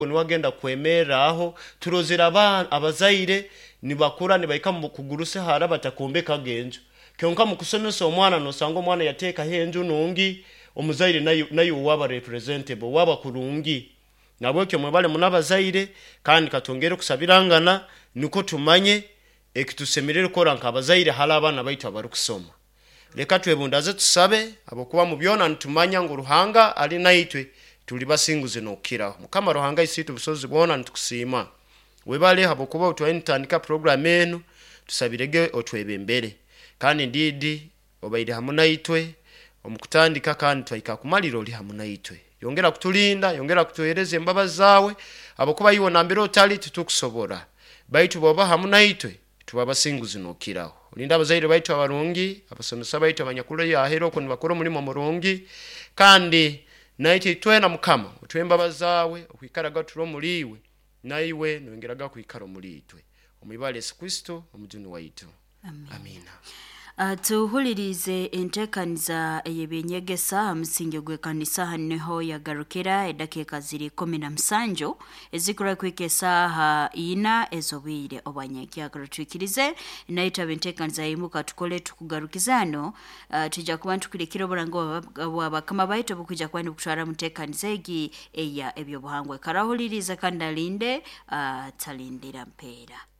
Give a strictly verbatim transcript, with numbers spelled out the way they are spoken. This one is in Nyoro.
Niwagenda kwemerraho turozere abaana abazaire nibakura nibahika mu kuguruse hara batakombekaga enju. Kyonka mu kusomesa omwana nosanga omwana yateekaho enju nungi, omuzaire naye naye waba representable, waba kurungi. Nabwekyo mwebale muno abazaire, kandi katwongere kusabirangana nukwo tumanye ekitusemerire kukora nk'abazaire hali abaana baitu abarukusoma. Leka twebundaze tusabe, habwokuba mu byona nitumanya ngu Ruhanga ali naitwe, tuli basinguzi n'okukiraho. Mukama Ruhanga Isiitwe obusobozi bwona, nitukusiima. Webale habwokuba otwaire nitutandika puroguramu enu, tusabirege otwebembere. Kandi ndiidi obaire hamu naitwe omu kutandika kandi twahika kumalira oli hamu naitwe. Yongera kutulinda, yongera kutuheereza embabazi zaawe, habwokuba iwe nambere otali titukusobora. Baitu bw'oba hamu naitwe, tuba basinguzi n'okukiraho. Olinde abazaire baitu abarungi, abasomesa baitu abanyakuli aheeru oku nibakora omulimo murungi, kandi naitwe itwena Mukama otuhe embabazi zaawe okwikaraga turi omuli iwe, naiwe noyongeraga kwikara omuli itwe. Omu ibara Yesu Kristo Omujuni waitu. Amiina. Uh, tuhulirize entekaniza ey'ebyenyegesa ha musingi gw'ekanisa. Hanu niho yagarukira edakiika ziri kumi na musanju ezikura kuhika esaaha ina ez'obwire obwanyenkyakara. Twikirize naitwe abentekaniza yimuka tukole tukugarukiza hano. uh, tujja kuba ntukurikira oburango bwa bakama baitu obukwija kuba nibukutwara mu ntekaniza egi eya ebyobuhangwa. Karahuliriza kandi alinde, uh, talindira mpeera.